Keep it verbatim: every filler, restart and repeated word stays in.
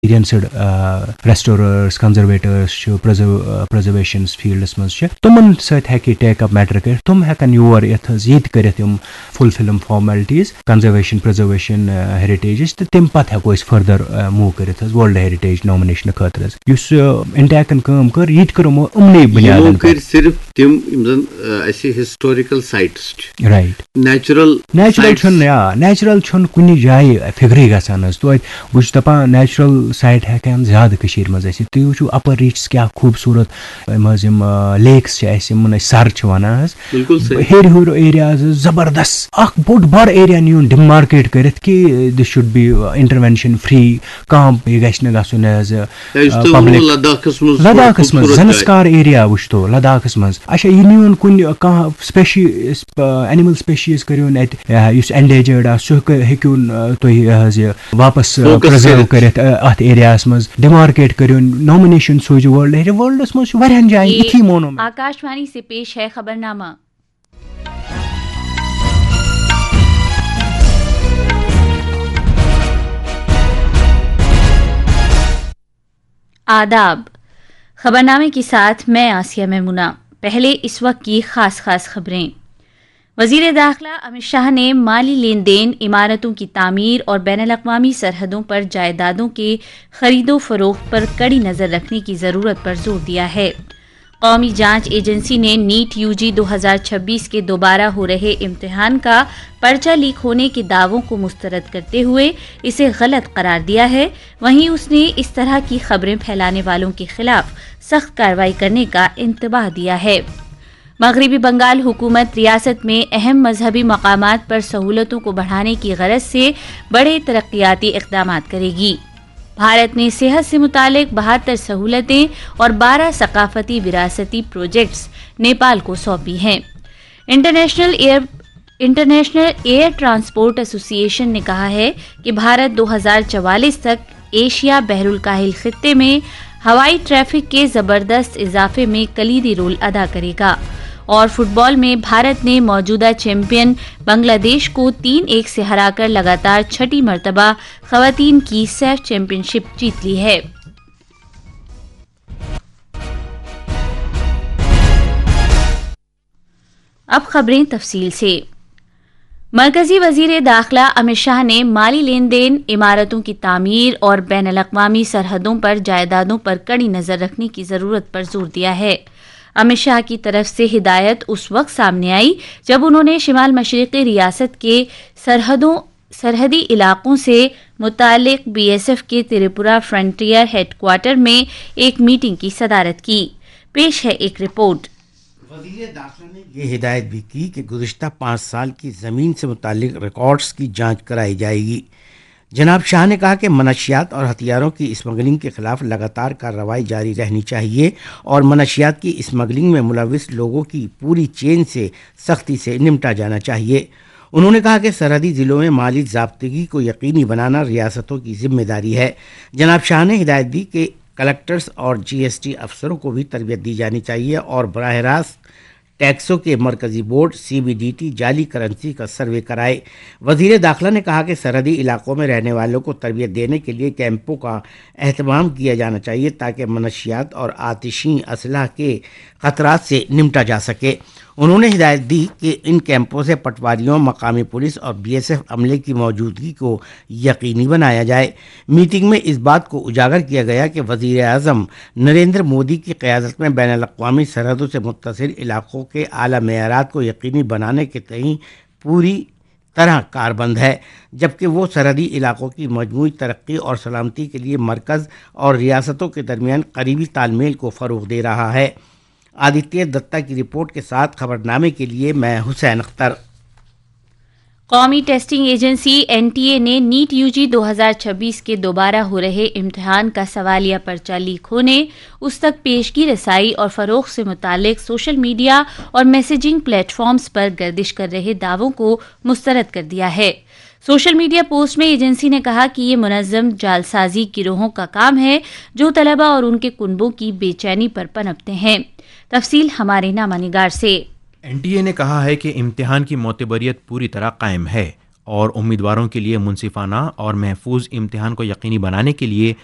Experienced ریسٹوررس، کنزرویٹرس چھِ، preservation fields منٛز چھِ، تِمن سۭتۍ ہیٚکہِ ٹیک اپ میٹر کٔرِتھ۔ تِم ہیٚکن یور یِتھ حظ، ییٚتہِ کٔرِتھ یِم فلفل یِم فارمیلٹیز کنزرویشن پرزرویشن ہیریٹیجٕچ، تہٕ تَمہِ پتہٕ ہٮ۪کو أسۍ فردر موو کٔرِتھ حظ ورلڈ ہیریٹیج نامنیشن خٲطرٕ حظ۔ یُس انٹیکن کٲم کٔر، یہِ تہِ کٔر یِمو یِمنٕے یِمو بُنیادن کٔرۍ پٮ۪ٹھ۔ صرف تِم یِم زن، آ، اسہِ ہسٹوریکل سائٹس چھِ۔ رائٹ۔ Natural natural sites. چھُنہٕ، آ، نیچرل چھُنہٕ کُنہِ جایہِ فِکرٕے گژھان حظ۔ توتہِ بہٕ چھُس دَپان، نیچرل سائٹ ہٮ۪کن زیادٕ کٔشیٖرِ منٛز ٲسِتھ۔ تُہۍ وٕچھِو اپر ریٖجنس کیٛاہ خوٗبصوٗرت یِم حظ یِم، آ، لیکس چھِ اَسہِ، یِمن أسۍ سر چھِ وَنان حظ۔ بِلکُل صحیح۔ ہیٚرِ ہیوٚر ایریاز حظ زبردست، اکھ بوٚڑ بار ایریا نیوٗن ڈِمارکیٹ کٔرِتھ کہِ this should be intervention free، کانٛہہ یہِ گژھِ نہٕ گژھُن حظ۔ یا یُس آ، تُہۍ ووٚنوُ پبلک لداخس منٛز چھُ لداخس منٛز خوٗبصوٗرت جاے۔ زنسکار ایریا وٕچھتو لداخس منٛز۔ اچھا، یہِ نیوٗن کُنہِ کانٛہہ سپیشی-، س-، پ-، اینیمل سپیشیز کٔرِوُن اَتہِ، یا یُس اینڈینجرڈ آسہِ، سُہ ہیٚکہِ-، ہیٚکِوُن، آ، تُہۍ یہِ حظ یہِ واپس، آ، فوکس پرزرو کٔرِتھ۔ کٔرِتھ، آ، اَتھ ایریاہس منٛز ڈِمارکیٹ کٔرِوُن، نامنیشن سوٗزِو ورلڈ۔ ورلڈس منٛز چھُ واریاہن جاین یہ یِتھی مونومینٹ۔ آکاشوانی سے پیش ہے خبرنامہ۔ آداب۔ خبرنامے کے ساتھ میں آسیہ میمونہ۔ پہلے اس وقت کی خاص خاص خبریں۔ وزیر داخلہ امت شاہ نے مالی لین دین، عمارتوں کی تعمیر اور بین الاقوامی سرحدوں پر جائیدادوں کے خرید و فروخت پر کڑی نظر رکھنے کی ضرورت پر زور دیا ہے۔ قومی جانچ ایجنسی نے نیٹ یو جی دو ہزار چھبیس کے دوبارہ ہو رہے امتحان کا پرچہ لیک ہونے کے دعووں کو مسترد کرتے ہوئے اسے غلط قرار دیا ہے۔ وہیں اس نے اس طرح کی خبریں پھیلانے والوں کے خلاف سخت کارروائی کرنے کا انتباہ دیا ہے۔ مغربی بنگال حکومت ریاست میں اہم مذہبی مقامات پر سہولتوں کو بڑھانے کی غرض سے بڑے ترقیاتی اقدامات کرے گی۔ بھارت نے صحت سے متعلق بہتر سہولتیں اور بارہ ثقافتی وراثتی پروجیکٹس نیپال کو سونپی ہیں۔ International air, international air transport ایسوسی ایشن نے کہا ہے کہ بھارت دو ہزار چوالیس تک ایشیا بحر الکاہل خطے میں ہوائی ٹریفک کے زبردست اضافے میں کلیدی رول ادا کرے گا۔ اور فٹ بال میں بھارت نے موجودہ چیمپئن بنگلہ دیش کو تین ایک سے ہرا کر لگاتار چھٹی مرتبہ خواتین کی سیف چیمپئن شپ جیت لی ہے۔ اب خبریں تفصیل سے۔ مرکزی وزیر داخلہ امت شاہ نے مالی لین دین، عمارتوں کی تعمیر اور بین الاقوامی سرحدوں پر جائیدادوں پر کڑی نظر رکھنے کی ضرورت پر زور دیا ہے۔ امت شاہ کی طرف سے ہدایت اس وقت سامنے آئی، جب انہوں نے شمال مشرقی ریاست کے سرحدوں سرحدی علاقوں سے متعلق بی ایس ایف کے تریپورہ فرنٹیئر ہیڈ کوارٹر میں ایک میٹنگ کی صدارت کی۔ پیش ہے ایک رپورٹ۔ وزیر داخلہ نے یہ ہدایت بھی کی کہ گزشتہ پانچ سال کی زمین سے متعلق ریکارڈز کی جانچ کرائی جائے گی۔ جناب شاہ نے کہا کہ منشیات اور ہتھیاروں کی اسمگلنگ کے خلاف لگاتار کارروائی جاری رہنی چاہیے اور منشیات کی اسمگلنگ میں ملوث لوگوں کی پوری چین سے سختی سے نمٹا جانا چاہیے۔ انہوں نے کہا کہ سرحدی ضلعوں میں مالی ضابطگی کو یقینی بنانا ریاستوں کی ذمہ داری ہے۔ جناب شاہ نے ہدایت دی کہ کلکٹرز اور جی ایس ٹی افسروں کو بھی تربیت دی جانی چاہیے اور براہ راست ٹیکسوں کے مرکزی board, C B D T, جعلی کرنسی کا سروے کرائے۔ وزیر داخلہ نے کہا کہ سرحدی علاقوں میں رہنے والوں کو تربیت دینے کے لیے کیمپوں کا اہتمام کیا جانا چاہیے تاکہ منشیات اور آتشی اسلحہ کے خطرات سے نمٹا جا سکے۔ انہوں نے ہدایت دی کہ ان کیمپوں سے پٹواریوں، مقامی پولیس اور بی ایس ایف عملے کی موجودگی کو یقینی بنایا جائے۔ میٹنگ میں اس بات کو اجاگر کیا گیا کہ وزیر اعظم نریندر مودی کی قیادت میں بین الاقوامی سرحدوں سے متصل علاقوں کے اعلیٰ معیارات کو یقینی بنانے کے تئیں پوری طرح کاربند ہے، جبکہ وہ سرحدی علاقوں کی مجموعی ترقی اور سلامتی کے لیے مرکز اور ریاستوں کے درمیان قریبی تال میل کو فروغ دے رہا ہے۔ آدتیہ دتہ کی رپورٹ کے ساتھ خبرنامے کے لیے میں حسین اختر۔ قومی testing agency N T A نے نیٹ یو جی دو ہزار چھبیس کے دوبارہ ہو رہے امتحان کا سوالیہ پرچہ لیک ہونے، اس تک پیشگی رسائی اور فروغ سے متعلق سوشل میڈیا اور میسجنگ پلیٹ فارمز پر گردش کر رہے دعووں کو مسترد کر دیا ہے۔ سوشل میڈیا پوسٹ میں ایجنسی نے کہا کہ یہ منظم جعلسازی گروہوں کا کام ہے، جو طلبہ اور ان کے کنبوں کی بے چینی پر پنپتے ہیں۔ تفصیل ہمارے نامہ نگار سے۔ این ٹی اے نے کہا ہے کہ امتحان کی معتبریت پوری طرح قائم ہے और उम्मीदवारों के लिए मुनसिफाना और महफूज इम्तिहान को यकीनी बनाने के लिए